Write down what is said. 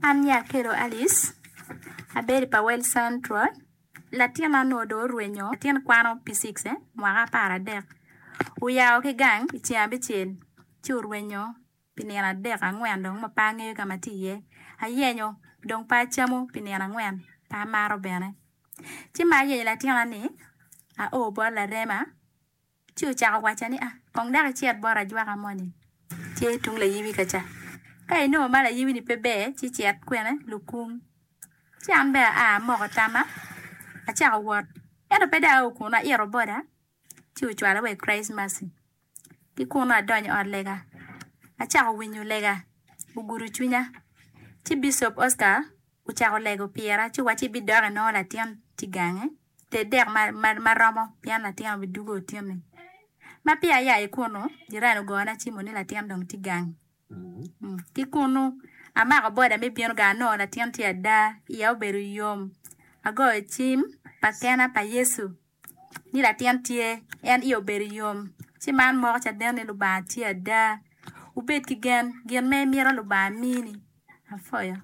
An nya Akello Alice, abedo i Pawel Central. Latinna onongo dong orwenyo, latin kwano P6 mwaka aparadek, oyao ki gang i ceng abicel ci orwenyo pi nino adek angwen dong ma pe angeyo ka ma tye iye. Ayenyo dong pe acamo pi nino angwen pe amato bene. Ci ma ayenyo latinna-ni ao bot larema Ci ocako wacca ni, Kong dok icit bot ajwaka moni, tye tung layibi ka ca. Ka inongo ma layibi-ni pe ber, ci cit kwene lukung. Ci an bene aa amoko tamma, acako wot. Ento pe dong ao kunnu, aito boda, ci ocwala wa i Christ Mercy. Ki kunnu adonyo i ot lega, acako winyo lega, ogudo cwinya. Ci Bicop Oscar ocako lego pira, ci owacci ibidok inongo latin ci gange. Ted dek ma romo pien latin obidwogo otinni. Ma peya aya ki kunnu, jirani ogona cimo ni latin dong tye gang. Ki kunnu, amako boda me bino gang anongo latin tye ada, iya obedo yom. Agoyo cim pa kena pa Yecu ni latin tye, en iye obedo yom. Ci man moko caden ni Lubanga tye ada. Wubed ki gen, gin ma imito Lubanga mini. Apwoyo.